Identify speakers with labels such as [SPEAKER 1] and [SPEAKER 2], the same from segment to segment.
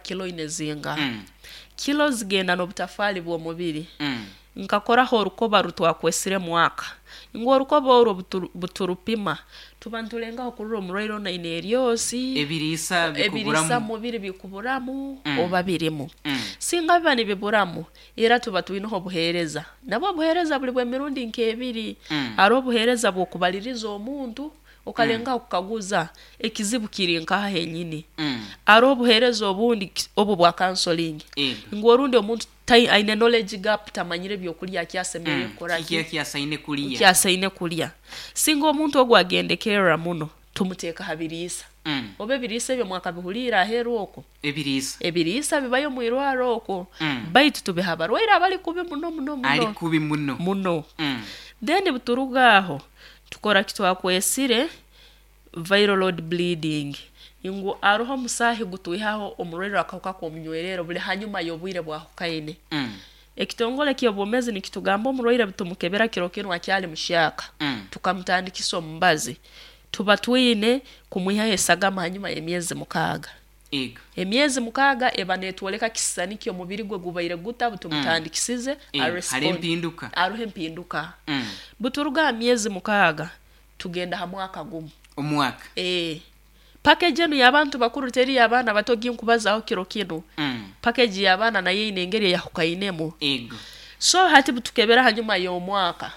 [SPEAKER 1] Kilo oine zingaha? Kilo zigenda n'obutafaali bw'omubiri. Nkakoraho orukoba rutwakwesire mwaka. Ngu orukoba orwo buturupima, tuba nitulengaho kurora omurwaire onu aine eryosi,
[SPEAKER 2] Ebiriisa
[SPEAKER 1] ebiriisa
[SPEAKER 2] bikuburamu.
[SPEAKER 1] mubiri bikuburamu oba birimu. Singa biba nibiburamu, era tuba twineho obuheereza. Nabwo obuheereza buri bw'emirundi nk'ebiri. Haroho obuheereza bw'okubaliriza omuntu, Okalengaho kukaguza ekizibu kiri nkaha henyini? Haroho obuheereza obundi obu bwa counseling ngu orundi omuntu aine knowledge gap tamanyire byokulya ki asemeriire kukora ki, ki asaine kulya. Singa omuntu ogu agendekerra muno tumuteeka ha biriisa. Oba ebiriisa ebyo mwakabihuliire aheeru okwo? Ebiriisa bibayo omu irwarro okwo baitu tubiha abarwaire abali kubi muno muno muno muno. Then buturuga aho Tukora ki twakwesire viral load bleeding ngu aroho omusaahi gutwihaho omurwaire w'akahuka k'omunywererro buli hanyuma y'obwire bwahukaine. Ekitongole ky'obwomeezi nikitugamba omurwaire butumukebera kiro kinu akyali muhyaka tukamutandikisa omubazi tuba twine kumwihaho esagama hanyuma y'emyezi mukaaga.
[SPEAKER 2] Ego.
[SPEAKER 1] Emyezi mukaaga eba netwoleka kisisani ki omubiri gwe gubaire guta butumutandikisize
[SPEAKER 2] Ego. Hariho
[SPEAKER 1] arespond
[SPEAKER 2] empinduka.
[SPEAKER 1] haroho empinduka. Buturuga ha myezi mukaaga tugenda ha mwaka gumu.
[SPEAKER 2] Omwaka.
[SPEAKER 1] Ee. Package enu y'abantu bakuru teri y'abaana bato ginkubazaho kiro kinu. Package y'abaana nayo eine engeri eyahukainemu.
[SPEAKER 2] Ego.
[SPEAKER 1] So hati butukebera hanyuma y'omwaka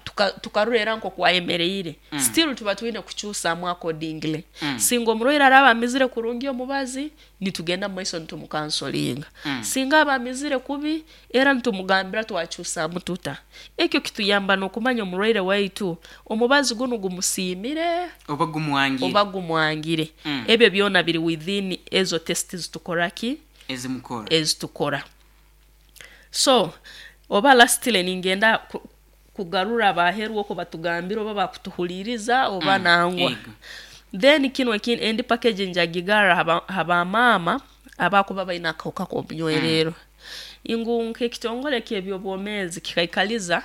[SPEAKER 1] tuka tukarora era nk'oku ayemereire, still tuba twine kukyusamu accordingly. Singa omurwaire araaba amizire kurungi omubazi, nitugenda mu maiso nitumukansolinga. Singa aba amizire kubi, era nitumugambira twakyusamu tuta. Ekyo kituyamba n'okumanya omurwaire waitu omubazi gunu gumusiimire
[SPEAKER 2] Oba gumwangire.
[SPEAKER 1] oba gumwangire. Ebyo byona biri within ezo test zitukora ki?
[SPEAKER 2] Ezimukora.
[SPEAKER 1] Ezitukora. So, oba lastly ningenda kugarura abaheru okwo batugambire oba bakutuhuliriza oba nangwa.
[SPEAKER 2] Ego.
[SPEAKER 1] Then kinu ekindi endi package njagigarra haba ha ba maama abakuba baine akahuka k'omunywererro. Ngu nk'ekitongore ky'eby'obwomeezi kikaikaliza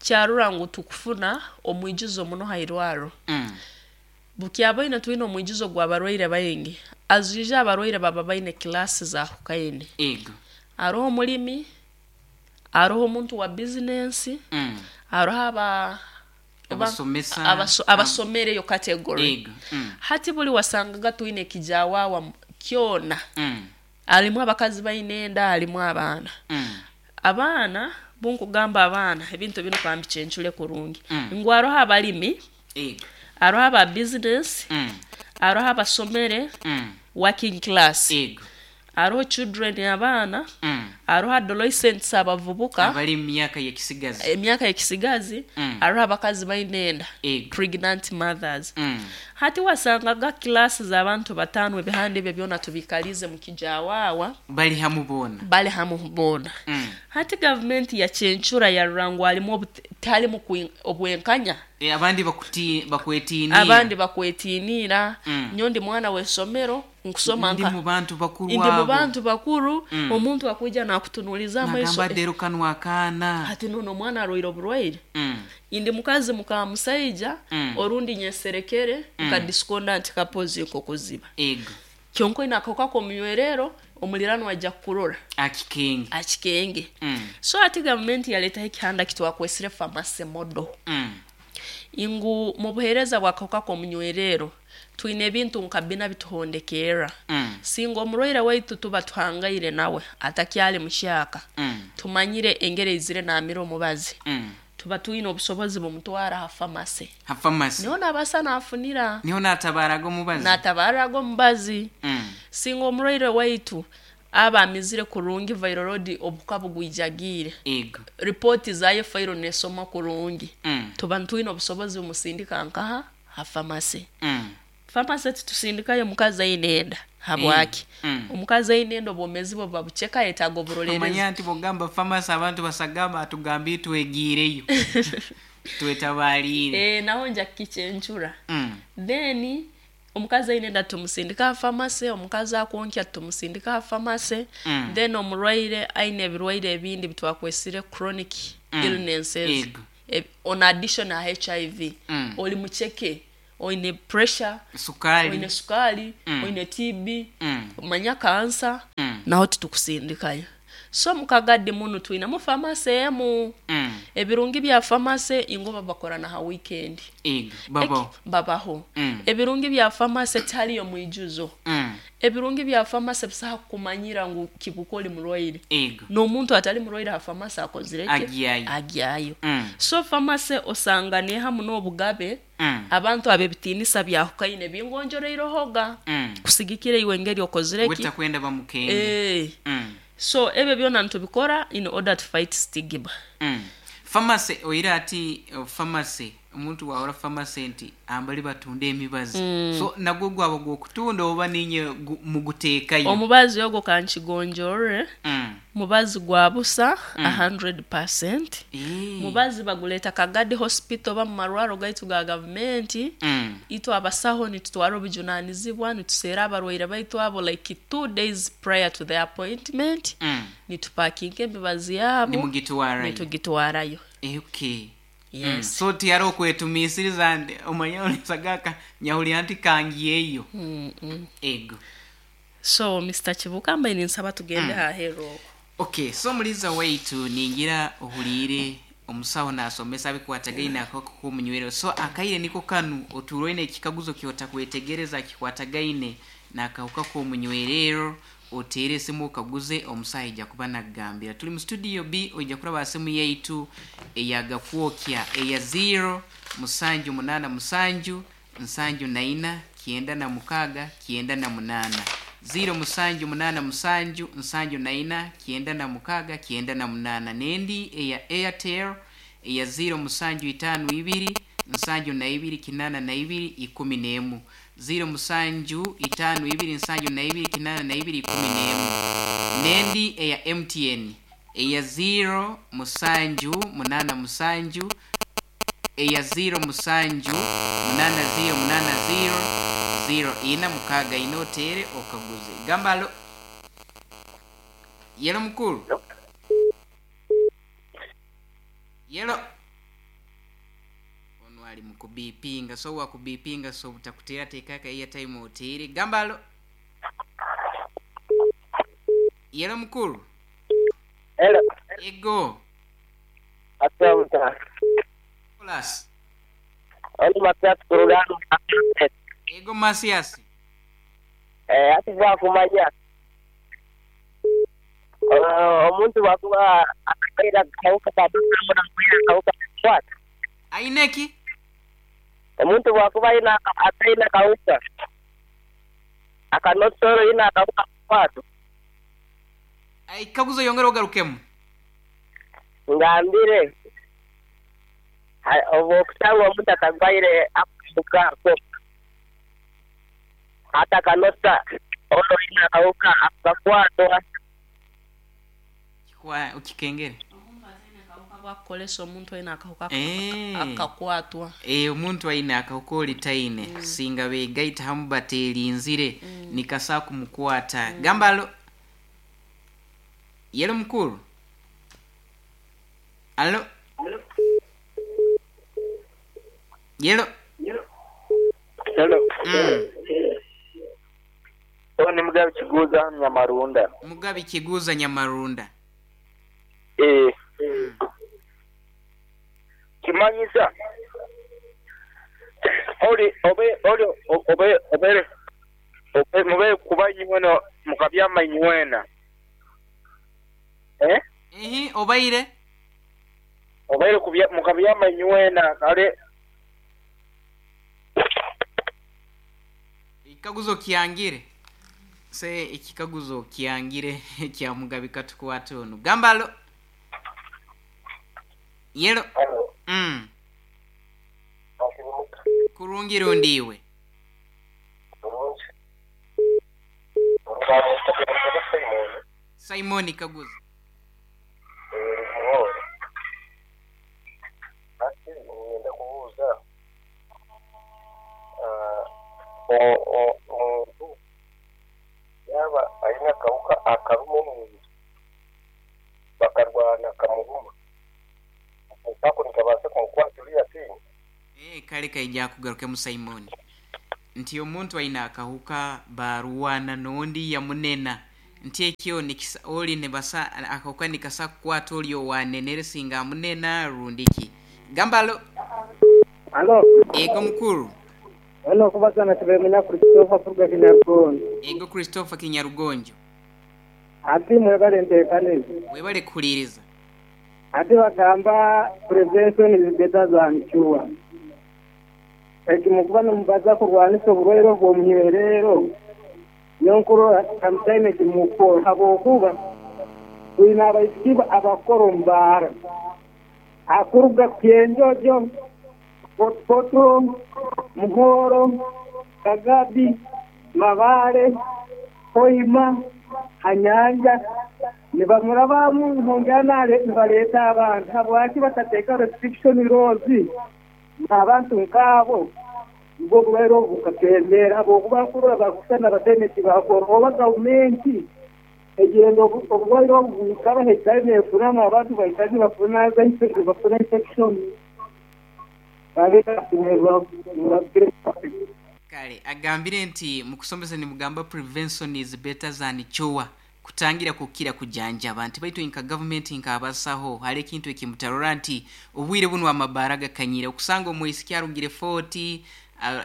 [SPEAKER 1] kyarora ngu tukufuna omwijuzo muno ha irwarro. Bukyabaine twine omwijuzo gw'abarwaire baingi, as usual abarwaire baba baine class zahukaine.
[SPEAKER 2] Ego.
[SPEAKER 1] Haroho omulimi, haroho omuntu wa bizinensi, haroho aba
[SPEAKER 2] Abasomesa.
[SPEAKER 1] abasomere eyo category.
[SPEAKER 2] Ego.
[SPEAKER 1] Hati buli wasangaga twine ekijawawa kyona, harimu abakazi baine enda, harimu abaana. Abaana, obunkugamba abaana, ebintu binu kambicencure kurungi, ngu haroho abalimi, Haroho aba bizinesi, haroho abasomere, working class, haroho children abaana, haroho adolescents abavubuka,
[SPEAKER 2] Abali mu myaka y'ekisigazi.
[SPEAKER 1] emyaka y'ekisigazi, haroho abakazi baine enda, pregnant mothers. Hati wasangaga class z'abantu bataano ebihanda ebyo byona tubikaliize mu kijawaawa.
[SPEAKER 2] Bali hamu boona.
[SPEAKER 1] Bali hamu boona. Hati gavumenti yakyencura yarora ngu harimu tiharimu obwenkanya.
[SPEAKER 2] Abandi bakwetiiniira.
[SPEAKER 1] Abandi bakwetiiniira. Nyowe ndi mwana w'eisomero, nkusoma
[SPEAKER 2] Ndi
[SPEAKER 1] nka.
[SPEAKER 2] mu bantu bakuru
[SPEAKER 1] Ndi mu
[SPEAKER 2] abo.
[SPEAKER 1] bantu bakuru, omuntu akwija naakutunuuliza amaiso.
[SPEAKER 2] Nagamba ati, Kanu akaana.
[SPEAKER 1] Hati n'onu omwana arwaire oburwaire. Ndi mukazi muka musaija, orundi nyeserekere nka discordant couples nk'okuziba.
[SPEAKER 2] Ego.
[SPEAKER 1] Kyonka oine akahuka k'omunywerero, omuliranwa aija kukurora.
[SPEAKER 2] Akikenge.
[SPEAKER 1] Akikenge. So hati gavumenti yaleetaho ekihanda ki twakwesire pharmacy model. Ngu mu buheereza bw'akahuka k'omunywerero, twine ebintu nka bina bituhondekerra. Singa omurwaire waitu tuba tuhangaire nawe atakyali muhyaka, tumanyire engeri aizire naamira omubazi, Tuba twine obusobozi bumutwara ha famase.
[SPEAKER 2] Ha famase.
[SPEAKER 1] Niho nabaasa nafunira.
[SPEAKER 2] Niho natabaaraga omubazi.
[SPEAKER 1] Natabaaraga omubazi. Singa omurwaire waitu aba amizire kurungi viral load obuhuka bugwijagiire.
[SPEAKER 2] Ego.
[SPEAKER 1] Ripooti zayo fairo nesomwa kurungi. Tuba nitwine obusobozi bumusindika nkaha? Ha famase. Pharmacy titusindikayo omukazi aine enda. Habwaki? Omukazi aine enda obwomeezi bwe buba buceke ayetaaga oburoleerezi.
[SPEAKER 2] Omanya nti bwogamba pharmacy abantu basagamba atugambiire twegiireyo twetabaariire.
[SPEAKER 1] Eeh naho nja kukikyencura. Then omukazi aine enda tumusindika aha pharmacy, omukazi akwonkya tumusindika aha pharmacy, then omurwaire aine ebirwaire ebindi ebitwakwesire chronic illnesses, on addition aha HIV, ori muceke. Oine pressure,
[SPEAKER 2] Sukaali.
[SPEAKER 1] oine sukaali,
[SPEAKER 2] Mm.
[SPEAKER 1] oine TB,
[SPEAKER 2] Mm.
[SPEAKER 1] manya kansa,
[SPEAKER 2] Mm.
[SPEAKER 1] naho titukusindikayo. So omu Kagadi munu twinemu pharmacy emu.
[SPEAKER 2] Mm.
[SPEAKER 1] Ebirungi bya pharmacy ingo babakora na ha weekend.
[SPEAKER 2] Ego, babaho.
[SPEAKER 1] Babaho.
[SPEAKER 2] Mm.
[SPEAKER 1] Ebirungi bya pharmacy tihariyo mwijuzo.
[SPEAKER 2] Mm.
[SPEAKER 1] Ebirungi bya pharmacy bisaha kukumanyira ngu kibuka oli murwaire.
[SPEAKER 2] Ego.
[SPEAKER 1] N'omuntu atali murwaire ha pharmacy akozire ki?
[SPEAKER 2] Agyayo.
[SPEAKER 1] Agyayo.
[SPEAKER 2] Mm.
[SPEAKER 1] So pharmacy osanga nehamu n'obugabe
[SPEAKER 2] Mm.
[SPEAKER 1] abantu ab'ebitiinisa byahukaine bingonjoreirehoga
[SPEAKER 2] Mm.
[SPEAKER 1] kusigikira iwe engeri okozire ki
[SPEAKER 2] Wetakwenda bamukenge.
[SPEAKER 1] Eh.
[SPEAKER 2] Mm.
[SPEAKER 1] So ebyo byona nitubikora in order to fight stigma.
[SPEAKER 2] Mm. Pharmacy oira ati pharmacy omuntu wahora pharmacy nti ambali batunda emibazi so nagwo gwaba gwokutunda oba ninye muguteekayo
[SPEAKER 1] Omubazi ogwo kankigonjorere
[SPEAKER 2] Mm.
[SPEAKER 1] mubazi gwa busa 100%.
[SPEAKER 2] Eh.
[SPEAKER 1] Mubazi baguleta Kagadi Hospital oba mu marwaro gaitu ga gavumenti.
[SPEAKER 2] Mm.
[SPEAKER 1] Itwe abasaho nitutwara obujunanizibwa nituseera abarwaire baitu abo like 2 days prior to the appointment.
[SPEAKER 2] Mm.
[SPEAKER 1] Nitupakinga emibazi yabo
[SPEAKER 2] Nimugitwarayo.
[SPEAKER 1] nitugitwarayo.
[SPEAKER 2] Eh, okay.
[SPEAKER 1] Yes.
[SPEAKER 2] Mm. So tiyari okwetumiisiriza nti omanya onisagaka nyahurira nti kangiyeyo.
[SPEAKER 1] Mm -mm.
[SPEAKER 2] Ego.
[SPEAKER 1] So Mr. Kibuka mbaine ninsaba tugende aheeru okwo.
[SPEAKER 2] Okay, so muliza waitu ningira ohuliire omusaho nasomesa abikwatagaine akako k'omunywero. So akaire niko kanu oturoine ekikaguzo kyotakwetegereza kikwatagaine n'akahuka k'omunywerero oteere esimu okaguze omusaho aija kuba nakugambira. Tuli mu studio B oija kuraba aha simu yaitu eyagakwokya eya 0 musanju munana musanju nsanju naina kyenda na mukaaga kyenda na munaana. 0 musanju munana musanju nsanju naina kyenda na mukaaga kyenda na munaana. N'endi eya Airtel eya 0 musanju itaano ibiri nsanju na ibiri kinaana na ibiri ikumi n'emu. 0 musanju itaano ibiri nsanju na ibiri kinaana na ibiri ikumi n'emu. N'endi eya MTN eya 0 musanju munana musanju eya 0 musanju munana 0 munana 0 0 ina mukaaga ina oteere okaguze. Gamba alo. Yelo mukuru. Yelo. Ono ali mukubipinga so wakubipinga so butakuteera teekaka airtime oteere. Gamba alo. Yelo mukuru.
[SPEAKER 3] Hello.
[SPEAKER 2] Ego.
[SPEAKER 3] Asante.
[SPEAKER 2] Nicholas.
[SPEAKER 3] Oli Matias Kurugano.
[SPEAKER 2] Ego Masias.
[SPEAKER 3] Eh, ati bwakumanya. Omuntu bwakuba akaira akawuka kabamuna kwira akawuka kwata.
[SPEAKER 2] Aineki?
[SPEAKER 3] Omuntu bwakuba ina ataina kawuka. Akanosoro ina akawuka kwata.
[SPEAKER 2] Ikaguzo yongera ogarukemu.
[SPEAKER 3] Ngambire. Obu okusanga omuntu atagwaire akawuka ako. Hata kanosa ono ina akawuka akakwatwa.
[SPEAKER 2] Kwa ukikengere.
[SPEAKER 1] Bwakukolesa omuntu aine akahuka
[SPEAKER 2] Eh.
[SPEAKER 1] akakwatwa.
[SPEAKER 2] Eh, omuntu aine akahuka oli taine. Singa begaita hamu baterinzire nikasa kumukwata. Gamba alo. Yelo mukuru. Alo. Yelo.
[SPEAKER 4] Hello.
[SPEAKER 2] Mm.
[SPEAKER 4] Ni Mugabe Kiguza Nyamarunda.
[SPEAKER 2] Mugabe Kiguza Nyamarunda.
[SPEAKER 4] Eh. Kimanyisa. Oli obe oli obe obe obe mube kuba inywena mukabyama inywena. Eh?
[SPEAKER 2] Ehi obaire?
[SPEAKER 4] Obaire kubya mukabyama inywena kale
[SPEAKER 2] Ekikaguzo kyangire. Se ekikaguzo kyangire kya Mugabe katukwata ono. Gamba alo. Yelo. Mm. Kurungi rundiwe. Simon Kaguza.
[SPEAKER 4] Ngenda kubuuza omuntu yaba aine akawuka akaruma omubiri bakarwana kamuruma ako nikabaasa kumukwata ori atiine.
[SPEAKER 2] Eh, Kale kaija akugarukemu Simon. Nti omuntu aine akahuka barwana n'ondi yamunena nti ekyo nikisa ori nibasa akahuka nikasa kukwata ori owanenere singa amunena rundi ki. Gamba alo.
[SPEAKER 5] Alo.
[SPEAKER 2] Ego mukuru.
[SPEAKER 5] Wena okubaza na Tibemenya Christopher kuruga Kinyarugonjo.
[SPEAKER 2] Ego Christopher Kinyarugonjo.
[SPEAKER 5] Ati mwebale enteekaniza.
[SPEAKER 2] Webale kuhuliiriza.
[SPEAKER 5] Ati bagamba prevention is better than cure. Eki mukuba nimubaza kurwanisa oburwaire obw'omunywerero, nyowe nkurora sometimes eki mukukora habwokuba twine abaisiki abakukora omu baara akuruga Kyenjojo, Fort Portal, Muhoro, Kagabi, Mabale, Hoima, ha nyanja nibamurabamu nihongera nibaleeta abantu. Habwaki batateeka restriction laws abantu nk'abo nibwo oburwaire obu bukakendeera habwokuba nkurora bakusana bataine eki bakora oba gavumenti egyenda oburwaire obu bwikara haikara neefunamu abantu baikara nibafuna nibafuna infection.
[SPEAKER 2] Kale agambire nti mukusomesa nimugamba prevention is better than cure, kutangira kukira kujanjaba, nti baitu nka gavumenti nk'abasaho hariho ekintu ekimutarora nti obwire bunu amabaara gakanyire okusanga omwisiki arugire Fort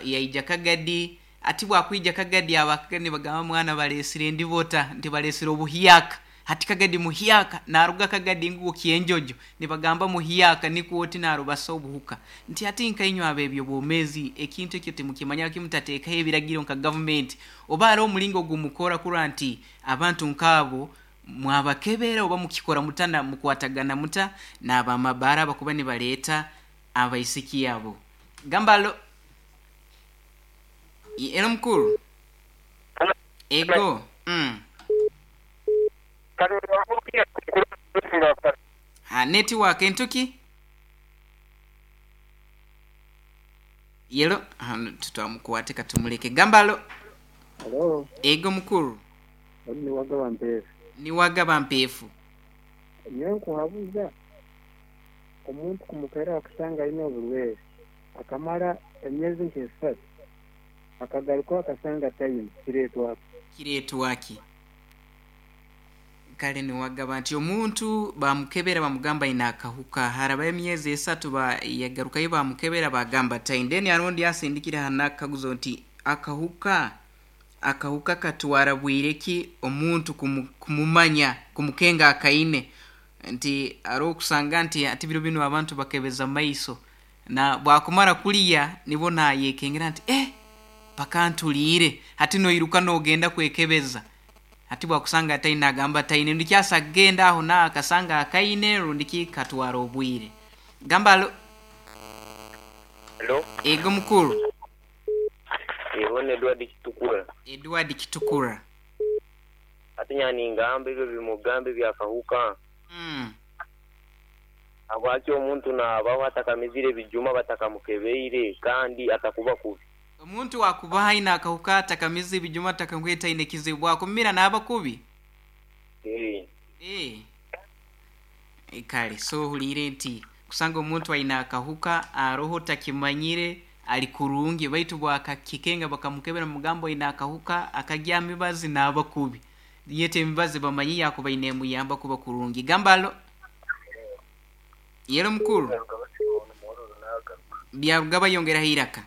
[SPEAKER 2] yaija Kagadi, ati bwakwija Kagadi aba Kagadi nibagamba mwana baresire endibota nti baresire obuhyaka, hati Kagadi muhyaka, naruga Kagadi nguwo Kyenjojo nibagamba muhyaka nikwo oti narubasa obuhuka, nti hati nkainywe ab'ebyobwomezi ekintu ekyo timukimanya kimutateekaho ebiragiro nka gavumenti oba hariho omulingo ogumukora kurora nti abantu nk'abo mwabakebera oba mukikora muta na mukwatagana muta n'abamabaara abakuba nibaleeta abaisiki abo. Gamba alo. Elo mukuru. Ego. Ha network entuki? Yelo tutwamukwate katumuleke. Gamba alo.
[SPEAKER 6] Halo.
[SPEAKER 2] Ego mukuru.
[SPEAKER 6] Ni Wagaba Mpeefu.
[SPEAKER 2] Ni Wagaba Mpeefu.
[SPEAKER 6] Nyowe nkuhabuza omuntu kumukera akusanga aine oburwaire akamara emyezi nk'esatu akagaruka akasanga ataine, kireetwa ki?
[SPEAKER 2] Kireetwa ki? Kale niwagaba nti omuntu bamukebera bamugamba aine akahuka, harabayo emyezi esatu yagarukayo bamukebera bagamba ataine. Then hariho ondi asindikire hanu nakakaguzo nti akahuka akahuka katwara bwire ki omuntu kumumanya kumukenga akaine, nti hariho okusanga nti hati biro binu abantu bakebeza maiso na bwakumara kuriya nibwo nayekengera nti bakantuliire, hati noiruka nogenda kwekebeza, hati bwakusanga ataine nagamba ataine, rundi kyasa kugenda aho naho akasanga akaine rundi ki katwara obwire. Gamba alo.
[SPEAKER 4] Halo.
[SPEAKER 2] Ego mukuru.
[SPEAKER 4] Ego ni Edward Kitukura.
[SPEAKER 2] Edward Kitukura.
[SPEAKER 4] Hati nyowe ningamba ebyo bimugamba ebyakahuka. Habwaki omuntu naabaho atakamizire ebijuma batakamukebeire kandi atakuba kubi?
[SPEAKER 2] Omuntu akuba aine akahuka atakamize ebijuma atakankwete aine ekizibu, bwakumira naaba kubi?
[SPEAKER 4] Ee.
[SPEAKER 2] Ee. Kale so ohuliire nti kusanga omuntu aine akahuka aroho takimanyire ali kurungi baitu bwakakikenga bakamukebera bamugamba oine akahuka akarya emibazi naaba kubi. Yete emibazi bamanyi yakubaire nemuyamba kuba kurungi. Gamba alo. Yelo mukuru. Byarugaba yongeraho eiraka.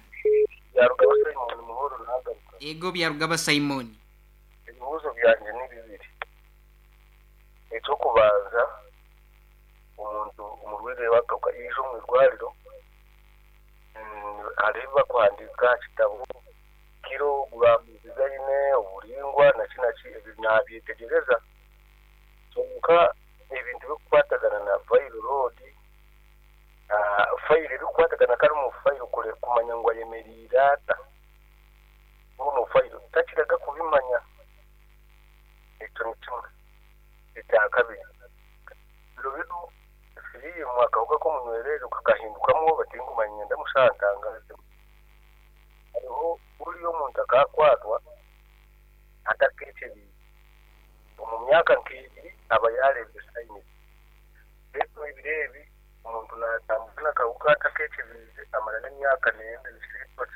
[SPEAKER 7] Byarugaba Simon Muhoro nagaruka.
[SPEAKER 2] Ego Byarugaba Simon.
[SPEAKER 7] Ebibuuzo byangye ni bibiri. Eky'okubanza, omuntu omurwaire w'akahuka yaija omu irwariro, hariho ebi barikuhandiika aha kitabo, kiro, guraamu ezi aine, oburaingwa naki naki, ebyo naabyetegyereza. Kwonka ebintu ebirikukwatagana na viral load, fayiro ebirikukwatagana kare omu fayiro kumanya ngu ayemereire ata omu fayiro takiraga kubimanya. Ekyo ni kimwe. Ekya kabiri, biro binu siriimu akahuka k'omunywererero kakahindukamu oba tinkumanya niinyenda mushaho antangaazemu. Hariho buriya omuntu akaakwatwa atakeekyebeire, omu myaka nk'ebiri aba yaareebire sayinizi. Beitu ebiro ebi. Omuntu naatambura n'akahuka atakekyebiize amara n'emyaka n'enda nikisiimwa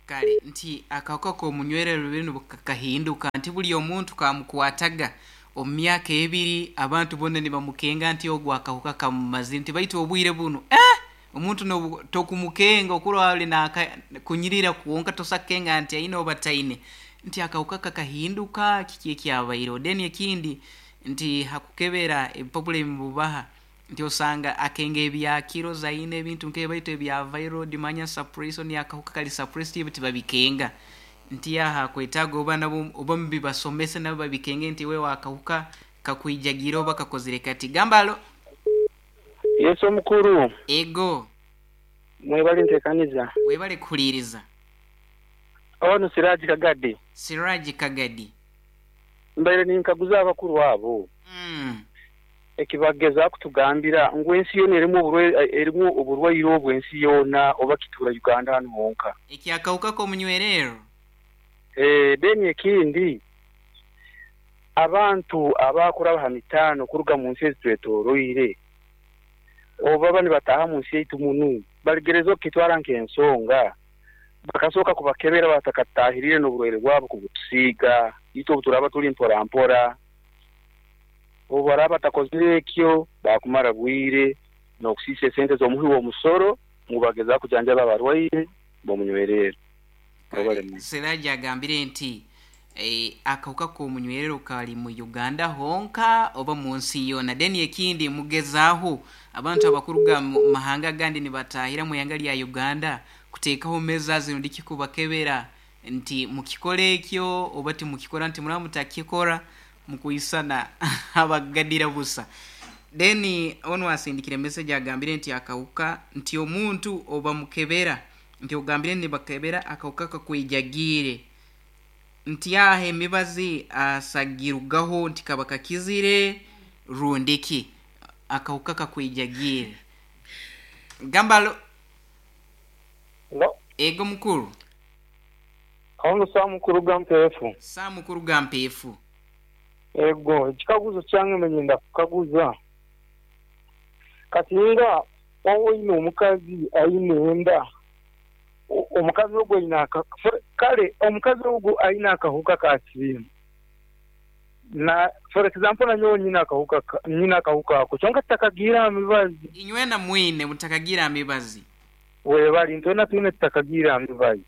[SPEAKER 2] Kare nti akahuka k'omunywerero binu kahinduka nti buli omuntu kamukwataga omu myaka ebiri abantu boona nibamukenga nti ogu akahuka kamumazire nti baitu obwire bunu eh omuntu nobu tokumukenga okurora oli naka kunyirira kwonka tosa kukenga nti aine oba taine nti akahuka kakahinduka kiki ekyabaireho. Then ekindi nti hakukebera ebipapura ebimubaha nti osanga akenga ebya kilos aine ebintu nk'ebyo baitu ebya viral manya suppression akahuka kari suppressed ebyo tibabikenga. Nti aha hakwetaaga oba nabo oba mubibasomese nabo babikenge nti wewe akahuka kakwijagiire oba kakozire kati. Gamba alo.
[SPEAKER 6] Yesu omukuru.
[SPEAKER 2] Ego.
[SPEAKER 6] Mwebale ntekaniza.
[SPEAKER 2] Webale kuhuliiriza.
[SPEAKER 6] Onu Siraji Kagadi.
[SPEAKER 2] Siraji Kagadi.
[SPEAKER 6] Mbaire ninkaguza abakuru abo ekibageza kutugambira ngu ensi yoona erimu erimu oburwaire obu ensi yoona oba kituura Uganda hanu honka.
[SPEAKER 2] Eky'akahuka k'omunywererro.
[SPEAKER 6] Eeh then ekindi abantu abakuraba ha mitaano kuruga munsi ezitwetoroire obu baba nibataaha munsi yaitu munu barigerezaho kukitwara nk'ensonga bakasooka kubakebera batakatahiriire n'oburwaire bwabo kubutusiiga itwe obu turaaba turi mpora mpora. Obu baraaba batakozire ekyo baakumara bwire n'okusiisa esente z'omuhi w'omusoro ngu bagezaho kujanjaba abarwaire b'omunywererro. Webale
[SPEAKER 2] Kale
[SPEAKER 6] muno.
[SPEAKER 2] Siraji agambire nti akahuka k'omunywererro kali mu Uganda honka oba mu nsi yoona. Then ekindi mugezaaho abantu abakuruga mu mahanga agandi nibatahira mu ihanga lya Uganda kuteekaho measures rundi ki kubakebera nti mukikora ekyo oba timukikora nti muraba mutakikora mukwisana abagadira busa. Then onu asindikire message agambire nti akahuka nti omuntu obamukebera nti ogambire nibakebera akahuka kakwijagiire nti aha emibazi asagirugaho nti kaba kakizire rundi ki akahuka kakwijagiire. Gamba alo.
[SPEAKER 6] Hello.
[SPEAKER 2] Ego mukuru.
[SPEAKER 6] Ono Sam kuruga Mpeefu.
[SPEAKER 2] Sam kuruga Mpeefu.
[SPEAKER 6] Ego, ekikaguzo kyange mbe nyenda kukaguza, kasinga waba oine omukazi aine enda, omukazi ogwo aine aka, kale omukazi ogwo aine akahuka ka siriimu, na for example nanyowe nyine akahuka nyine akahuka ako kyonka tutakagiire aha mibazi.
[SPEAKER 2] Inywena mwine mutakagiire aha mibazi.
[SPEAKER 6] Webale, itwena twine tutakagiire aha mibazi.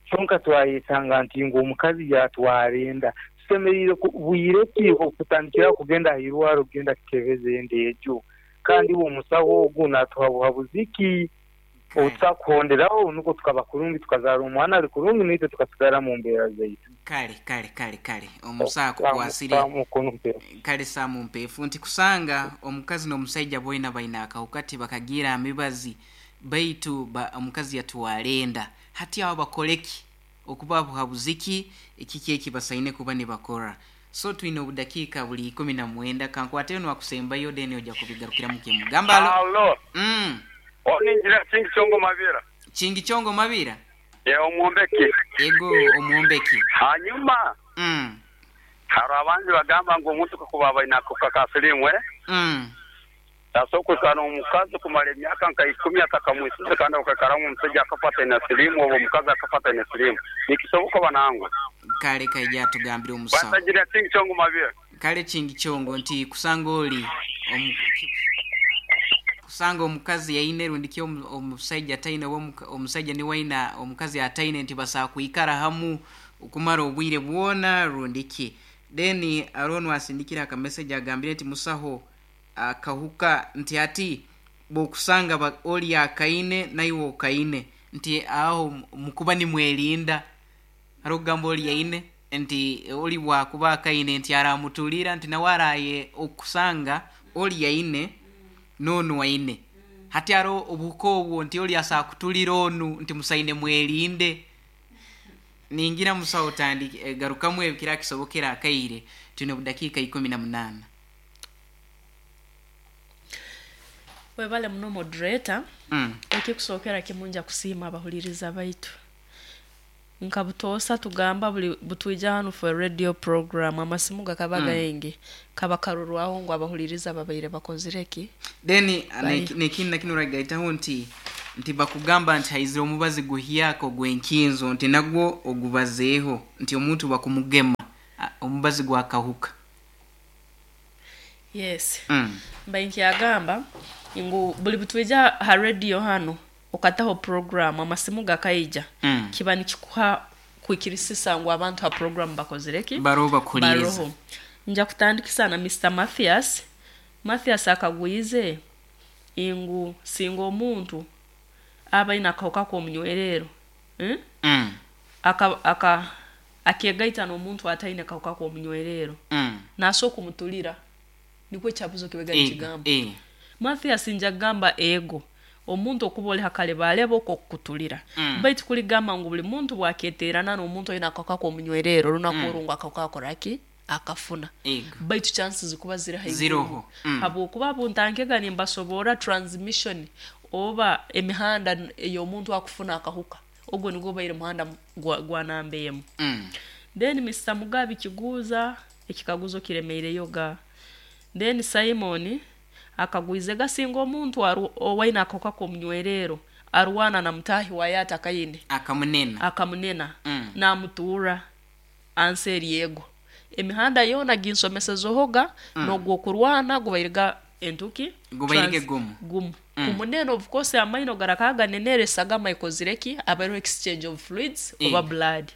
[SPEAKER 6] Kyonka twayesanga nti ngu omukazi yatwara enda, tusemeriire bwire ki okutandikiraho kugenda aha irwaro kugenda kukebeza enda egyo? Kandi iwe omusaho ogu natuha buhabuzi ki obutusakuhonderaho nukwo tukaba kurungi tukazaara omwana ari kurungi naitwe tukasigara mu mbeera zaitu?
[SPEAKER 2] Kale, kale, kale, kale. Omusaho akukwasire. Kale Sam Mpeefu nti kusanga omukazi n'omusaija boina baine akahuka tibakagiire aha mibazi baitu ba omukazi yatwara enda. Hati aho bakore ki? Okuba buhabuzi ki? Kiki eki basaine kuba nibakora? So twine obudakiika buli 19 kankwateyo nwakusembayo then oja kubigarukiramu kimu. Gamba alo.
[SPEAKER 4] Alo. Onu Engineer Kingi Kyongo Mabira.
[SPEAKER 2] Kingi Kyongo Mabira?
[SPEAKER 4] Ee, omwombeki.
[SPEAKER 2] Ego, omwombeki.
[SPEAKER 4] Hanyuma, hariho abandi bagamba ngu omuntu kakuba aba aine akahuka ka siriimu, eh? Tasobola kwikara n'omukazi kumara emyaka nka ikumi atakamwisize kandi okaikaramu omusaija akafa ataine siriimu oba omukazi akafa ataine siriimu. Nikisoboka oba nangwa?
[SPEAKER 2] Kale kaija atugambire omusaho.
[SPEAKER 4] Basagira Kingi Kyongo Mabira.
[SPEAKER 2] Kale Kingi Kyongo nti kusanga oli omu kusanga omukazi aine rundi ki omusaija ataine oba omusaija niwe aine omukazi ataine nti basobola kwikara hamu okumara obwire bwona rundi ki. Then haroho n'owasindikire aka message agambire nti musaho akahuka nti hati bwokusanga ba oli akaine naiwe okaine nti aho mukuba nimwerinda. Haroho okugamba oli aine nti oli bwakuba akaine nti aramutulira nti nawe araye okusanga oli aine n'onu aine. Hati haroho obuhuka obwo nti oli asobola kutulira onu nti musaine mwerinde. Ningira musaho otandike garukamu ebyo kirakisobokera akaire twine obudakiika 18.
[SPEAKER 1] Webale muno moderator. Ekikusookera kimu nja kusiima abahuliriza baitu. Nka butoosa tugamba buli butwija hanu for radio program amasimu gakaba gaingi kaba karorwaho ngu abahuliriza babaire bakozire ki?
[SPEAKER 2] Then
[SPEAKER 1] Bari.
[SPEAKER 2] Nekindi nakino oragaitaho nti nti bakugamba nti haizire omubazi guhyaka ogw'enkinzo nti nagwo ogubazeeho nti omuntu bakumugema omubazi gwakahuka.
[SPEAKER 1] Yes. Mbaire nkyagamba ngu buli butwija ha radio hanu okataho program amasimu gakaija kiba nikikuha kwikirisisa ngu abantu ha program bakozire ki?
[SPEAKER 2] Baroho bakuhuliriza.
[SPEAKER 1] Baroho. Nja kutandikisa na Mister Mathias. Mathias akagwize ngu singa omuntu aba aine akahuka k'omunywerero aka aka akegaita n'omuntu ataine kahuka k'omunywerero nasobola kumutulira. Nikwo ekyabuzo kibega nikigamba. Mathias nja kugamba ego, omuntu okuba ori ha karebareba oko kukutulira. Baitu kuri gamba ngu buri muntu bwaketerana n'omuntu oine akahuka k'omunywerero orunaku oru ngu akahuka akora ki? Akafuna. Baitu chances zikuba ziri haiguru. Habwokuba abuntankega nimbasoborra transmission oba emihanda ey'omuntu akufuna akahuka. Ogwo nigwo gubaire muhanda gwa namba emu. Then Mister Mugabi Kiguuza ekikaguzo kiremeireyo ga. Then Simon akagwize gasinga omuntu owaine akahuka k'omunywerero arwana na mutaahi waye atakaine.
[SPEAKER 2] Akamunena.
[SPEAKER 1] Akamunena namutuura ansi eri ego. Emihanda yoona ginsomesezeho ga n'ogw'okurwana gubaire ga entuki?
[SPEAKER 2] Gubaire ge gumu.
[SPEAKER 1] Gumu. Kumunena of course amaino garakaba ganenere esagama ekozire ki? Habaireho exchange of fluids oba blood.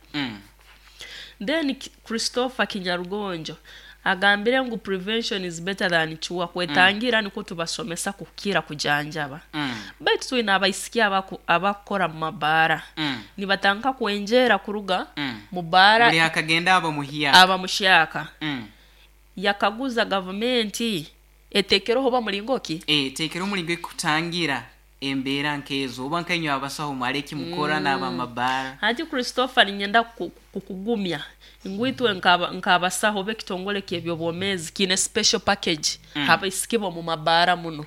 [SPEAKER 1] Then Christopher Kinyarugonjo agambire ngu prevention is better than cure, kwetangira nikwo tubasomesa kukira kujanjaba. Baitu twine abaisiki abakukora mu mabaara nibatandika kwengyera kuruga mu baara.
[SPEAKER 2] Buri akagenda aba muhyaka.
[SPEAKER 1] Aba muhyaka. Yakaguza gavumenti etekereho oba muringo ki?
[SPEAKER 2] Etekereho omuringo ekutangira embeera nk'ezo oba nkainywe abasaho mwari eki mukora n'abamabaara.
[SPEAKER 1] Hati Christopher niinyenda kukugumya ngu itwe nk'abasaho oba ekitongore ky'eby'obwomeezi kiine special package h'abaisiki b'omu mabaara muno.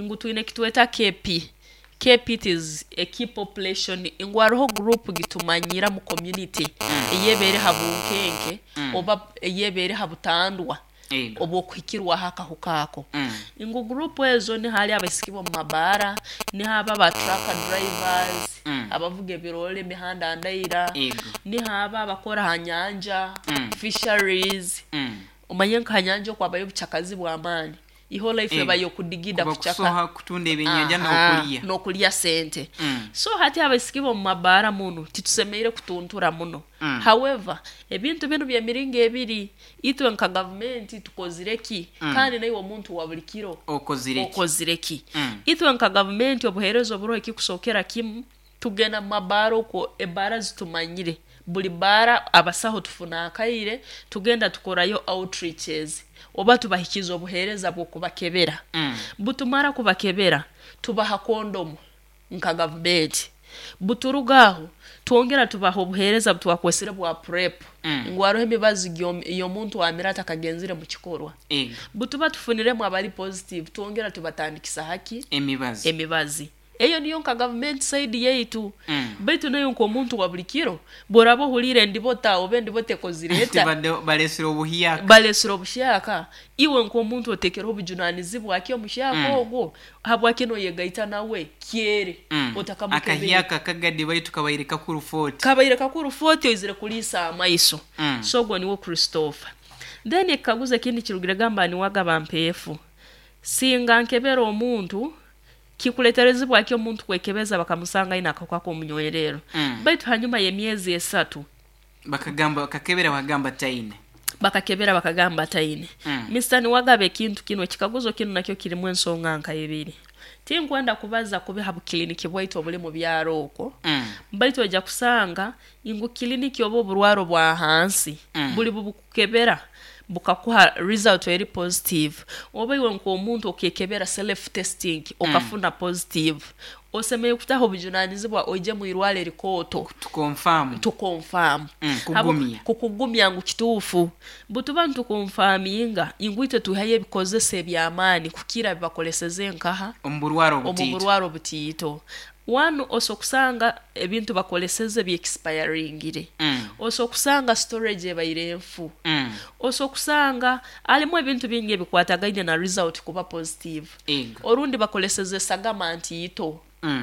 [SPEAKER 1] Ngu twine eki tweta KP. KP it is a key population ngu hariho group gitumanyira mu community eyeeba eri ha bunkenke oba eyeeba eri ha butandwa obw'okuhikirwaho akahuka ako. Ngu group ezo niho hari abaisiki b'omu mabaara, niho abo aba truck drivers, abavuga ebiroore emihanda ndaira, niho abo abakora aha nyanja, fisheries, omanye nka aha nyanja okwo habayo obucakazi bw'amaani. Iho life eba y'okudigida
[SPEAKER 2] Kuba
[SPEAKER 1] kucaka.
[SPEAKER 2] kusoha kutunda ebyenyanja
[SPEAKER 1] Aha,
[SPEAKER 2] n'okulya.
[SPEAKER 1] n'okulya sente. So hati abaisiki b'omu mabaara munu titusemeire kutuntura muno. However, ebintu binu by'emiringo ebiri, itwe nka gavumenti tukozire ki kandi naiwe omuntu wa buri kiro
[SPEAKER 2] Okozire ki?
[SPEAKER 1] okozire ki? Itwe nka gavumenti obuheereza oburoho ekikusookera kimu, tugenda mu mabaara okwo ebaara zitumanyire. Buri baara abasaho tufuna akaire tugenda tukorayo outreaches oba tubahikiza obuheereza bw'okubakebera. Butumara kubakebera, tubaha kondomu nka gavumenti. Buturuga aho, twongera tubaha obuheereza butwakwesire bwa PrEP ngu hariho emibazi ey'omuntu amira atakagenzire mu kikorwa. Butuba tufuniremu abari positive, twongera tubatandikisa haki?
[SPEAKER 2] Emibazi.
[SPEAKER 1] Emibazi. Eyo niyo nka gavumenti side yaitu. Baitu naiwe nk'omuntu wa buri kiro, bw'oraba ohuliire endibota oba endibota ekozire eta,
[SPEAKER 2] Balesire obuhyaka.
[SPEAKER 1] Balesire obuhyaka, iwe nk'omuntu otekereho obujunanizibwa ki omuhyaka ogwo? Habwaki noyegaita nawe kyere otakamukebeire?
[SPEAKER 2] Akahyaka kagadi baitu kabaire kakuru 40.
[SPEAKER 1] Kabaire kakuru 40 oizire kuriisa amaiso. So ogwo niwe Christopher. Then ekikaguzo ekindi kirugire gamba niwagaba mpeefu. Singa nkebera omuntu, Kikuleterezibwa ki omuntu kwekebeza bakamusanga aine akahuka k'omunywererro, baitu hanyuma y'emyezi esatu.
[SPEAKER 2] Bakagamba, bakakebera bakagamba taine.
[SPEAKER 1] Bakakebera bakagamba taine. Mister Niwagaba ekintu kinu, ekikaguzo kinu nakyo kirimu ensonga nka ibiri. Tinkwenda kubaza kubi ha bukiliniki bwaitu obuli mu byaro okwo, baitu oija kusanga ngu kiliniki oba oburwaro bwa hansi buli bubukukebera bukakuha result eri positive, oba iwe nk'omuntu okekebera self testing okafuna positive, osemeriire kutaho obujunanizibwa oije mu irwaro erikooto
[SPEAKER 2] To confirm.
[SPEAKER 1] To confirm.
[SPEAKER 2] Kugumya.
[SPEAKER 1] Kukugumya ngu kituufu. Butuba nitukonfaminga ngu itwe twihayo ebikozesa eby'amaani kukira bibakoleseze nkaha?
[SPEAKER 2] Omu burwaro
[SPEAKER 1] Omu
[SPEAKER 2] obutiito.
[SPEAKER 1] burwaro obutiito. One osobola kusanga ebintu bakoleseze byekisipayaringire. Osobola kusanga storage ebaire nfu. Osobola kusanga harimu ebintu bingi ebikwatagaine na result kuba positive. Orundi bakoleseze esagama ntiito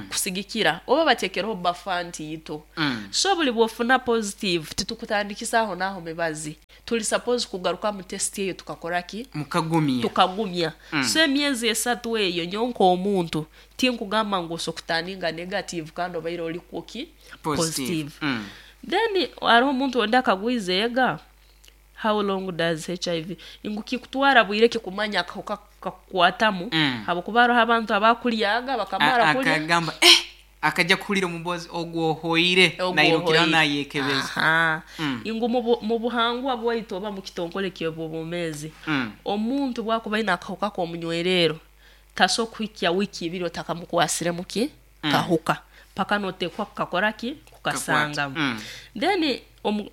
[SPEAKER 1] kusigikira oba batekereho buffer ntiito. So buri bwofuna positive titukutandikisa aho n'aho mibazi. Turi suppose kugarukamu test eyo tukakora ki?
[SPEAKER 2] Mukagumya.
[SPEAKER 1] Tukagumya. So emyezi esatu eyo nyowe nk'omuntu tinkugamba ngu osobola kutaninga negative kandi obaire ori kwo ki?
[SPEAKER 2] Positive.
[SPEAKER 1] Positive. Then hariho omuntu ondi akagwiza ega, how long does HIV, ngu kikutwara bwire ki kumanya akahuka kakukwatamu habwokuba hariho abantu abakuryaga bakamara kurya.
[SPEAKER 2] Akagamba eh! Akaja kuhurira omubozi ogwo ohoire
[SPEAKER 1] Ogwo
[SPEAKER 2] nairukiraho
[SPEAKER 1] ohoire.
[SPEAKER 2] nayekebeza.
[SPEAKER 1] Aha. Ngu mu buhangwa bwaitu oba mu kitongore ky'obwomeezi, omuntu bwakuba aine akahuka k'omunywerero, tasobola kuhikya wiiki ibiri otakamukwasiremu ki? Kahuka. Paka noteekwa kukakora ki? Kukasangamu. Then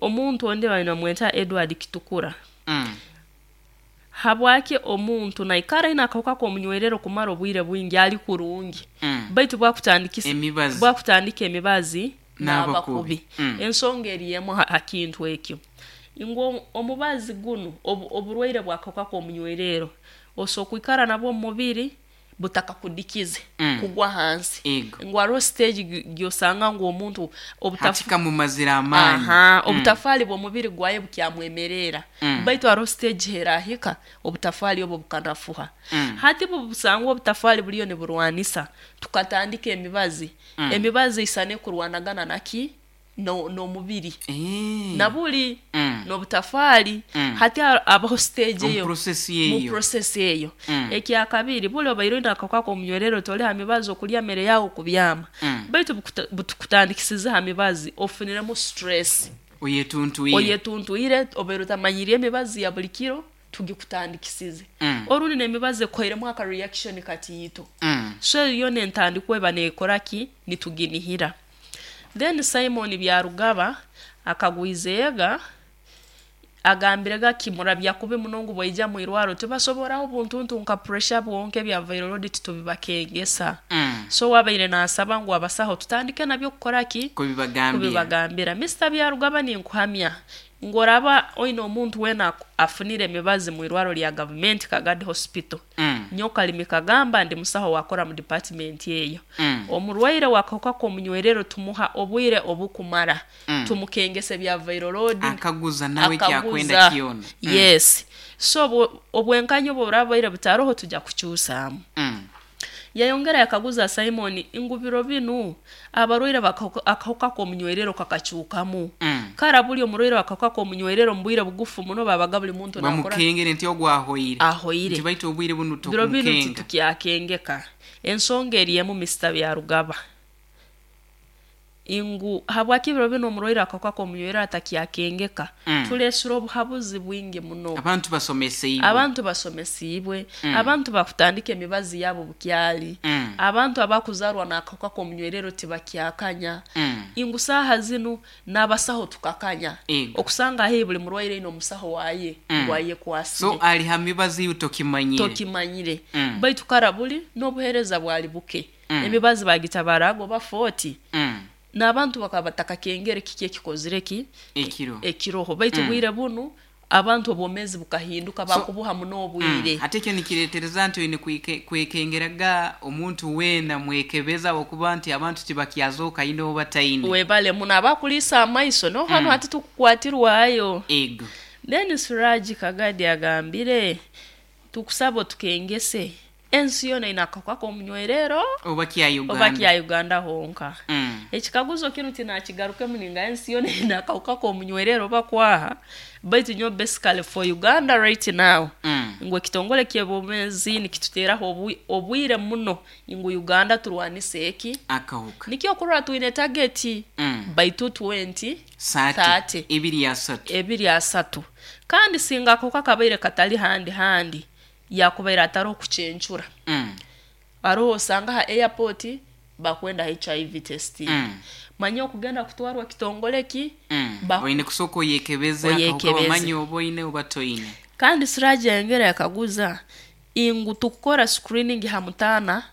[SPEAKER 1] omuntu ondi babaire nibamweta Edward Kitukura. Habwaki omuntu naikara aine akahuka k'omunywerero kumara obwire bwingi ali kurungi, baitu bwakutandikisa
[SPEAKER 2] Emibazi.
[SPEAKER 1] bwakutandika emibazi
[SPEAKER 2] Naaba
[SPEAKER 1] naaba
[SPEAKER 2] kubi.
[SPEAKER 1] kubi. Ensonga eri emu ha kintu ekyo, ngu omubazi gunu oburwaire bw'akahuka k'omunywerero osobola kwikara nabwo omu mubiri butakakudikize kugwa ahansi. Ngu hariho siteegi gy'osanga ngu omuntu
[SPEAKER 2] Hati kamumazire amaani.
[SPEAKER 1] Obutafaali bw'omubiri gwaye bukyamwemerera, baitu hariho siteegi herahika obutafaali obwo bukanafuha. Hati bubusangwa obutafaali buriyo niburwanisa, tukatandika emibazi, emibazi eisana ekurwanagana naki? N'omubiri na buri n'obutafaali. Hati habaho siteegi eyo mu process eyo. Ekyakabiri, buri obaire oine akahuka k'omunywererero tori ha mibazi okurya mere yaawe okubyama, baitu butukutandikisize ha mibazi ofuniremu stress, oyetuntwire, obaire otamanyiriire emibazi ya buri kiro tugikutandikisize. Orundi n'emibazi ekuhairemu aka reaction katiito. So eyo yoona entandikwa eba neekora ki? Nituginihira. Then Simon Byarugaba akagwiza ega, agambire gaki murabya kubi muno ngu bwaija mwirwaro tibasoboraho buntuntu nka pressure bwonka ebya viral titubibakengesa. So wabaire nasaba ngu abasaho tutandike nabyo kukora ki? Kubibagambira. Mister Byarugaba ninkuhamya ngu oraba oine omuntu weena afunire emibazi mwirwaro rya gavumenti Kagadi Hospital. Nyowe Kalimi kagamba ndi musaho owakora mu department eyo. Omurwaire w'akahuka k'omunywerero tumuha obwire obukumara, tumukengesa ebya viral load,
[SPEAKER 2] Akaguza nawe eki akwenda
[SPEAKER 1] akaguza,
[SPEAKER 2] kyona.
[SPEAKER 1] yes. So obwenkanya obu buraba bubaire butaroho tugya kukyusaamu. Yayongera yakaguza Simon ngu biro binu abarwaire b'akahuka k'omunywerero kakakyukamu. Kara buri omurwaire w'akahuka k'omunywerero omu bwire bugufu muno babaga buri muntu nakora.
[SPEAKER 2] Bamukengere nti ogu ahoire.
[SPEAKER 1] Ahoire.
[SPEAKER 2] Nti baitu obwire bunu
[SPEAKER 1] Biro binu
[SPEAKER 2] tokumukenga.
[SPEAKER 1] titukyakengeka. Ensonga eri emu Mister Byarugaba. Ngu habwaki ebiro binu omurwaire akahuka k'omunywerero atakyakengeka? Tureesire obuhabuzi bwingi muno.
[SPEAKER 2] Abantu basomeseibwe.
[SPEAKER 1] Abantu basomesiibwe. Abantu bakutandika emibazi yaabo bukyali. Abantu abakuzarwa n'akahuka k'omunywerero tibakyakanya. Ngu saaha zinu n'abasaho tukakanya. Okusanga haihi buri murwaire aine omusaho waaye ngu ayekwasire.
[SPEAKER 2] So ari ha mibazi iwe tokimanyire.
[SPEAKER 1] Tokimanyire. Baitu kara buri n'obuheereza bwari buke. Emibazi baagitabaaraga oba 40, n'abantu bakaba batakakengere kiki ekikozire ki?
[SPEAKER 2] Ekiro.
[SPEAKER 1] Ekiroho. Baitu obwire bunu abantu obwomeezi bukahinduka, baakubuha muno obwire.
[SPEAKER 2] Hati ekyo nikireetereza nti oine kwekengeraga omuntu weena mwekebeze ahabw'okuba nti abantu tibakyazooka aine oba taine.
[SPEAKER 1] Webale muno abakuriisa amaiso noho hanu hati tukukwatirwayo.
[SPEAKER 2] Ego.
[SPEAKER 1] Then Siraji Kagadi agambire, Tukusaba otukengese. Ensi yoona eine akahuka k'omunywerero
[SPEAKER 2] Oba kya
[SPEAKER 1] oba
[SPEAKER 2] Uganda.
[SPEAKER 1] kya Uganda honka? Ekikaguzo kinu tinakigarukemu ninga ensi yoona eine akahuka k'omunywerero oba kwaha, baitu nyowe basically for Uganda right now, ngu ekitongore ky'ebyobumeezi nikituteeraho obwire muno ngu Uganda turwanise eki?
[SPEAKER 2] Akahuka.
[SPEAKER 1] Nikyo okurora twine tageti by 2030.
[SPEAKER 2] Saati. Ebiri asatu.
[SPEAKER 1] Ebiri asatu. Kandi singa akahuka kabaire katali handi handi, yakubaire ataroho kucencura. Haroho osanga ha airport bakwenda HIV testing. Manya okugenda kutwarwa kitongole ki?
[SPEAKER 2] Oine kusooka oyekebeze akahuka
[SPEAKER 1] Oyekebeze.
[SPEAKER 2] bamanye oba oine oba toine.
[SPEAKER 1] Kandi Siraje yayongera yakaguza ingu tukukora screening ha mutaana.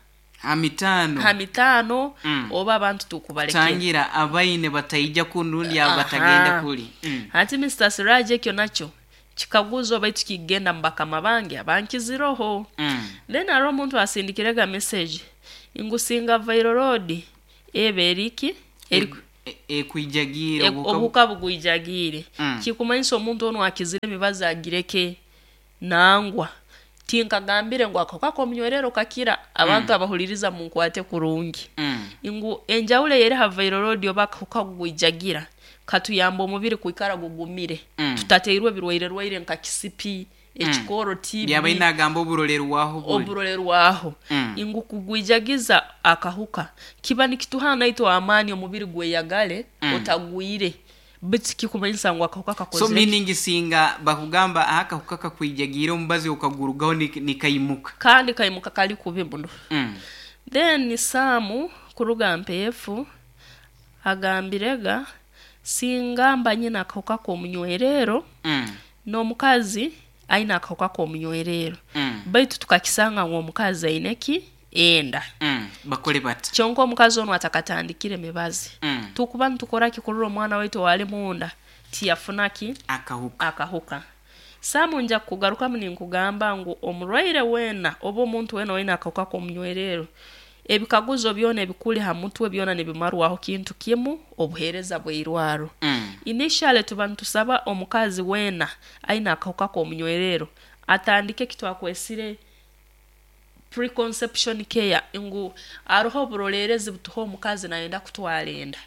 [SPEAKER 2] Ha mitaano.
[SPEAKER 1] Ha mitaano oba abantu tukubalekera.
[SPEAKER 2] Tangira abaine bataija kunu rundi abo batagenda kuli.
[SPEAKER 1] Hati Mister Siraje ekyo nakyo kikaguzo baitu kikugenda mu bakama bange abankiziroho. Then haroho omuntu asindikirega message ngu singa viral load eba eri ki?
[SPEAKER 2] Ekwijagiire
[SPEAKER 1] obuhuka bugwijagiire. Kikumanyisa omuntu onu akizire emibazi agireke? Nangwa. Tinkagambire ngu akahuka k'omunywerero kakira. Abantu abahuliriza munkwate kurungi. Ngu enjawulo eyeri ha viral load oba akahuka kugwijagira, katuyamba omubiri kwikara gugumire, tutateirwe birwaire-rwaire nka kisipi, ekikooro, TB.
[SPEAKER 2] Yabaire nagamba oburorerwaho buri.
[SPEAKER 1] Oburorerwaho. Ngu kugwijagiza akahuka kiba nikituha naitwe amaani omubiri gweyagale otagwire. Baitu tikikumanyisa ngu akahuka
[SPEAKER 2] So
[SPEAKER 1] kakozire ki.
[SPEAKER 2] meaning singa bakugamba akahuka kakwijagiire omubazi okagurugaho nikaimuka.
[SPEAKER 1] Kandi kaimuka kali kubi muno. Then Sam kuruga Mpeefu agambirega, Singa mba nyine akahuka k'omunywerero, n'omukazi aine akahuka k'omunywerero, baitu tukakisanga ngu omukazi aine ki? Enda.
[SPEAKER 2] Bakole bata?
[SPEAKER 1] Kyonka omukazi onu atakatandikire mibazi, tukuba nitukora ki kurora omwana waitu owali munda tiyafuna ki?
[SPEAKER 2] Akahuka.
[SPEAKER 1] Akahuka. Sam nja kukugarukamu ninkugamba ngu omurwaire weena oba omuntu weena owaine akahuka k'omunywerero, ebikaguzo byona ebikuli ha mutwe byona nibimarwaho kintu kimu, obuheereza bw'eirwaro. Initially tuba nitusaba omukazi weena aine akahuka k'omunywerero atandike eki twakwesire Preconception care ngu haroho oburoleerezi butuha omukazi nayenda kutwara enda.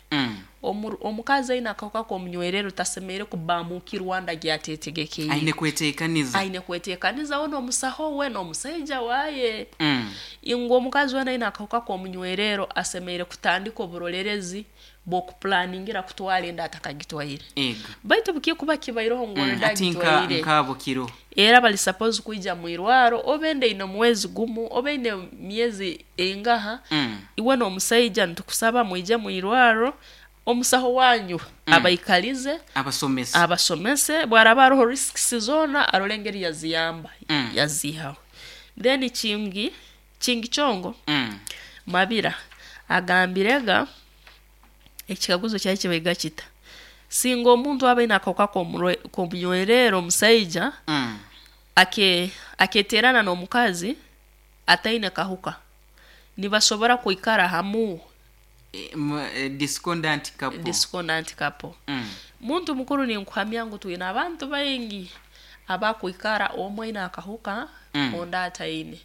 [SPEAKER 1] Omukazi aine akahuka k'omunywererro tasemeriire kubamukirwa nda gyatetegekeire.
[SPEAKER 2] Aine kwetekaniza.
[SPEAKER 1] Aine kwetekaniza we n'omusaho we n'omusaija waye. Ngu omukazi weena aine akahuka k'omunywererro asemeriire kutandika oburolerezi bw'okupulaningira kutwara enda atakagitwaire.
[SPEAKER 2] Ego.
[SPEAKER 1] Baitu bukikuba kibaireho ngu already
[SPEAKER 2] Hati nka
[SPEAKER 1] agitwaire,
[SPEAKER 2] nk'abo kiro.
[SPEAKER 1] era bali suppose kwija mu irwaro oba enda eine omwezi gumu oba eine myezi eingaha, iwe n'omusaija nitukusaba mwije mu irwaro, omusaho wanyu abaikalize,
[SPEAKER 2] Abasomese.
[SPEAKER 1] abasomese, bwaraba haroho risks zoona arole engeri yaziyamba, yaziihaho. Then kingi, kingi kyongo, Mabira agambirega Ekikaguzo kyali kibaiga kita, Singa omuntu aba aine akahuka k'omunywererro omusaija aketerana n'omukazi ataine kahuka, nibasobora kwikara hamu?
[SPEAKER 2] Discordant couple.
[SPEAKER 1] Discordant couple. Muntu mukuru ninkuhamya ngu twine abantu baingi abakwikara omu aine akahuka ondi ataine.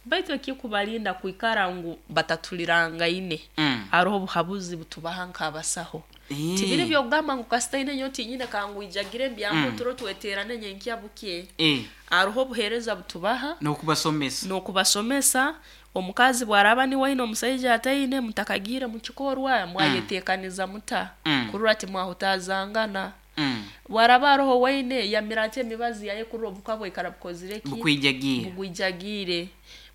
[SPEAKER 1] Baitu ekikubalinda kwikara ngu batatulirangaine, haroho obuhabuzi butubaha nk'abasaho. Tibiri by'okugamba ngu kasita aine nyowe tinyine kangwijagire mbyame oturo tweterane nyenkya bukye. Haroho obuheereza butubaha.
[SPEAKER 2] N'okubasomesa.
[SPEAKER 1] N'okubasomesa. Omukazi bw'araaba niwe aine omusaija ataine, mutakagiire mu kikorwa, mwayeteekaniza muta kurora timwahutaazangana? Bwaraba aroho owaine, yamira ati emibazi yaye kurora obuhuka bwaikara bukozire ki?
[SPEAKER 2] Bukwijagiire.
[SPEAKER 1] Bugwijagiire.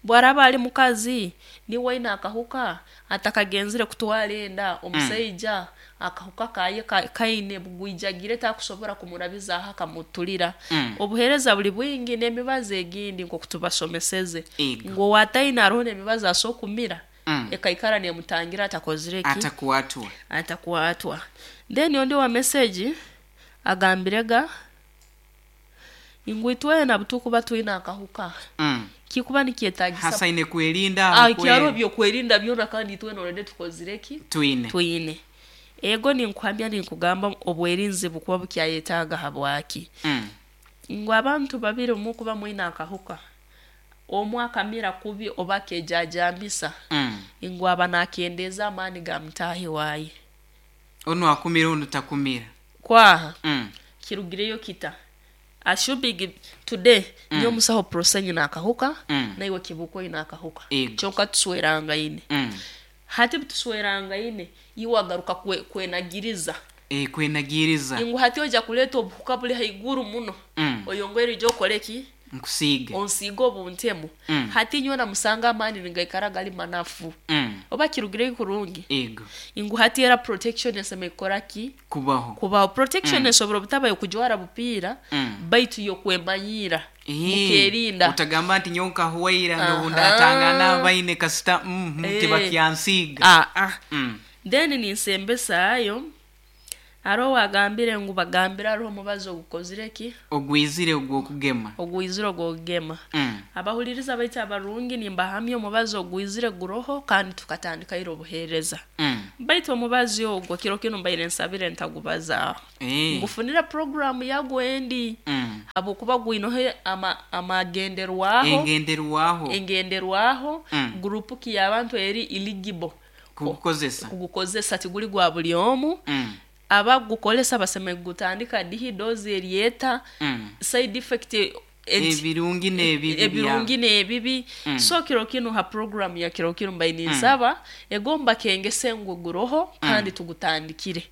[SPEAKER 1] Bwaraba ali mukazi, niwe aine akahuka, atakagenzire kutwara enda, omusaija akahuka kaye kaine bugwijagiire takusobora kumurabizaaho akamutulira. Obuhereza buli bwingi n'emibazi egindi nkoku tubasomeseze. Ngu owataine aroho n'emibazi asobora kumira, ekaikara nemutangira atakozire ki?
[SPEAKER 2] Atakwatwa.
[SPEAKER 1] Atakwatwa. Then ondi owa message agambirega ngu itwena obutukuba twine akahuka, kikuba nikyetagisa
[SPEAKER 2] Hasa aine kwerinda aho
[SPEAKER 1] ki hariho ebyokwerinda byona kandi itwena already tukozire ki?
[SPEAKER 2] Twine.
[SPEAKER 1] Twine. Ego ninkuhamya ninkugamba obwerinzi bukuba bukyayetaaga habwaki? Ngu abantu babiri obu mukuba mwine akahuka, omwe akamira kubi oba akejaajambisa, ngu aba nakendeeza amaani ga mutaahi waaye.
[SPEAKER 2] Onu akumira onu takumira.
[SPEAKER 1] Kwaha, kirugireyo kita? Assuming today nyowe musaho Prossy nyine akahuka, naiwe Kibuuka oine akahuka, kyonka tuswerangaine. Hati butuswerangaine, iwe agaruka kwenagiriza.
[SPEAKER 2] Kwenagiriza.
[SPEAKER 1] Ngu hati oija kureeta obuhuka buri haiguru muno, oyongere oije okore ki?
[SPEAKER 2] Nkusiige.
[SPEAKER 1] Onsiige obuntemu. Hati nyowe namusanga amaani nigaikara gari manafu. Oba kirugireyo kurungi?
[SPEAKER 2] Ego.
[SPEAKER 1] Ngu hati era protection esemeriire kukora ki?
[SPEAKER 2] Kubaho.
[SPEAKER 1] Kubaho. Protection esobora obutaba y'okujwara bupiira, baitu y'okwemanyiira, mukerinda.
[SPEAKER 2] Otagamba nti nyowe nkahwaira n'obu ndatangana abaine kasita tibakyansiiga.
[SPEAKER 1] Aa. Then ninsembesaayo, Haroho owagambire ngu bagambire haroho omubazi ogukozire ki?
[SPEAKER 2] Ogwizire ogw'okugema.
[SPEAKER 1] Ogwizire ogw'okugema. Abahuliriza baitu abarungi nimbahamya omubazi ogwizire guroho kandi tukatandika ira obuheereza. Baitu omubazi ogwo kiro kinu mbaire nsabire ntagubazaaho. Ngufunire puroguraamu yagwo endi habwokuba gwinoho amagenderwaho.
[SPEAKER 2] Engenderwaho.
[SPEAKER 1] Engenderwaho, guruupu ki y'abantu eri eligible.
[SPEAKER 2] Kugukozesa.
[SPEAKER 1] Kugukozesa tiguli gwa buli omu. Abakugukozesa basemeriire kugutandika dihi, doozi eri eta, side effect
[SPEAKER 2] Ebirungi n'ebibi
[SPEAKER 1] ebirungi n'ebibi. So kiro kinu ha program ya kiro kinu mbaire ninsaba ego mbakengese ngu guroho kandi tugutandikire.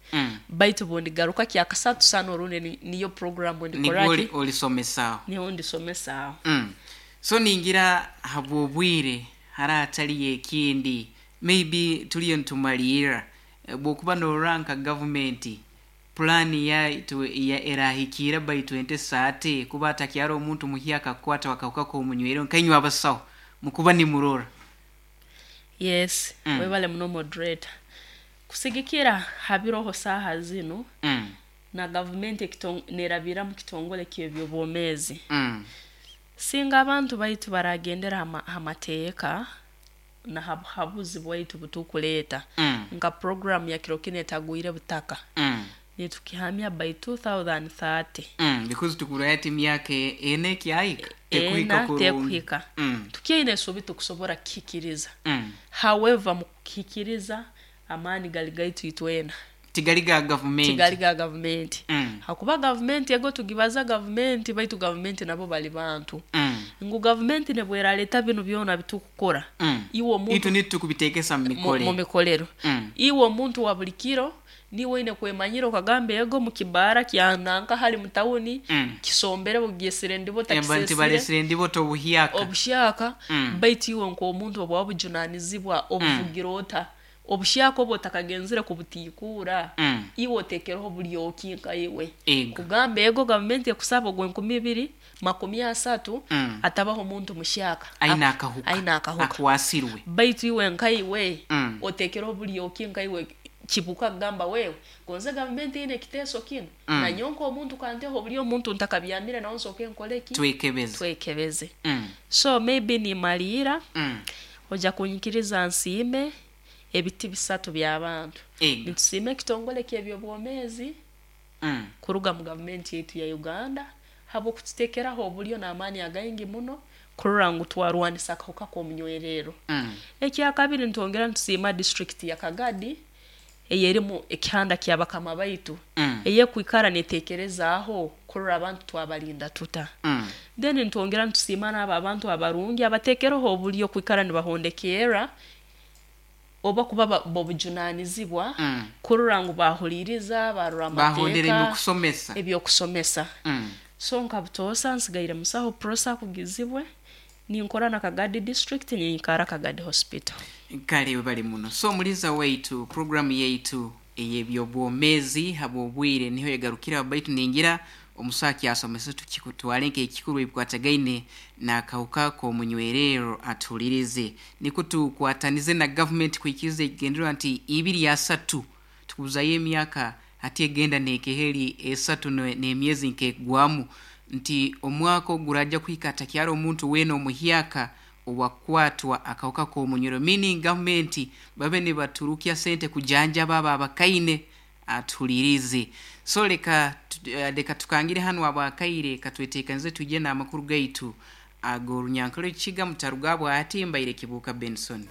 [SPEAKER 1] Baitu bundigaruka kyakasatu sana orundi niyo program ndikora
[SPEAKER 2] Nigwo
[SPEAKER 1] ki?
[SPEAKER 2] olisomesaaho.
[SPEAKER 1] Niho ndisomesaaho.
[SPEAKER 2] So ningira habw'obwire hara hatariyo ekindi Maybe turiyo nitumariirira. Bwokuba norora nka gavumenti pulaani yaitu erahikiira by 2030 kuba hatakyari omuntu muhyaka akukwatwa akahuka k'omunywero nkainywe abasaho mukuba nimurora.
[SPEAKER 1] Yes, webale muno moderator. Kusigikira ha biroho saaha zinu, na gavumenti nerabira mu kitongole ky'eby'obwomeezi, singa abantu baitu baragendera ha mateeka, na ha buhabuzi bwaitu obutukuleeta nka puroguramu ya kiro kinu etagwire butaka, nitukihamya by 2030.
[SPEAKER 2] Because tukurora hati emyaka ena ekyahika tekuhika
[SPEAKER 1] Ena
[SPEAKER 2] kurungi.
[SPEAKER 1] tekuhika. Tukyaine esuubi tukusobora kukihikiriza. However, mukukihikiriza amaani gali gaitu itwena.
[SPEAKER 2] Tigali ga gavumenti.
[SPEAKER 1] Tigali ga gavumenti. Hakuba gavumenti ego tugibaza gavumenti baitu gavumenti nabo bali bantu. Ngu gavumenti nebweraleta binu byona bitukukora, iwe omuntu
[SPEAKER 2] Itwe nitwe tukubitekesa mu mikorero.
[SPEAKER 1] Mu mikorero. Iwe omuntu wa buli kiro niiwe oine kwemanyira okagamba ego mu kibaara kya nanka hali mu tawuni kisombere bugyesire ndibo
[SPEAKER 2] Emba nti
[SPEAKER 1] takisesire.
[SPEAKER 2] Balesire ndibo obuhyaka.
[SPEAKER 1] Obuhyaka baitu iwe nk'omuntu obwa obujunanizibwa obuvugira ota? Obuhyaka obu otakagenzire kubutiikuura, iwe oteekereho bulyoki nka iwe. Kugamba ego gavumenti ekusaba ogw'enkumi ibiri, makumi asatu, atabaho omuntu muhyaka
[SPEAKER 2] Aine akahuka.
[SPEAKER 1] Aine akahuka.
[SPEAKER 2] Akwasirwe.
[SPEAKER 1] Baitu iwe nka iwe, oteekereho bulyoki nka iwe kibuka kugamba wewe, gonze gavumenti eine ekiteeso kinu, nanyowe nk'omuntu kanteho obulyo omuntu ntakabyamire nawe nsooke nkole ki?
[SPEAKER 2] Twekebeze.
[SPEAKER 1] Twekebeze. So maybe nimaliira, Oja kunyikiriza nsiime ebiti bisatu by'abantu. Nitusiima ekitongole ky'eby'obwomeezi kuruga mu gavumenti yaitu ya Uganda habw'okututeekeraho obulyo n'amaani againgi muno kurora ngu twarwanisa akahuka k'omunywererro. Ekyakabiri nitwongera nitusiima disiturikiti ya Kagadi ey'erimu ekihanda kya bakama baitu ey'ekwikara n'eteekerezaaho kurora abantu twabalinda tuta. Then nitwongera nitusiima n'abo abantu abarungi abateekereho obulyo kwikara nibahondekerra oba kuba b'obujunanizibwa kurora ngu baahuliiriza, baarora
[SPEAKER 2] Baahondera
[SPEAKER 1] amateeka,
[SPEAKER 2] eby'okusomesa.
[SPEAKER 1] eby'okusomesa. So nka butoosa nsigaire musaho Prossy Akugizibwe, ninkora na Kagadi District, ninyikara Kagadi Hospital.
[SPEAKER 2] Kale webale muno. So omuliza waitu, puroguramu yaitu ey'eby'obwomeezi habw'obwire niho egarukiraho baitu ningira omusaho akyasomesa tukitwale nk'ekikuru ebikwatagaine n'akahuka k'omunywererro atuhulirize. Nikwo tukwatanize na gavumenti kuhikiriza ekigendererwa nti ibiri asatu tukubuzayo emyaka hati egenda n'ekeheri esatu n'emyezi nk'ekugwamu nti omwaka ogu guraija kuhika hatakyari omuntu weena omuhyaka owakukwatwa akahuka k'omunyoro meaning gavumenti babe nibaturukya sente kujanjaba abo abakaine atuhulirize. So leka leka tukangire hanu abakaire katwetekanize twije n'amakuru gaitu ag'orunyankole Rukiga mutaruga bwati mbaire Kibuuka Benson.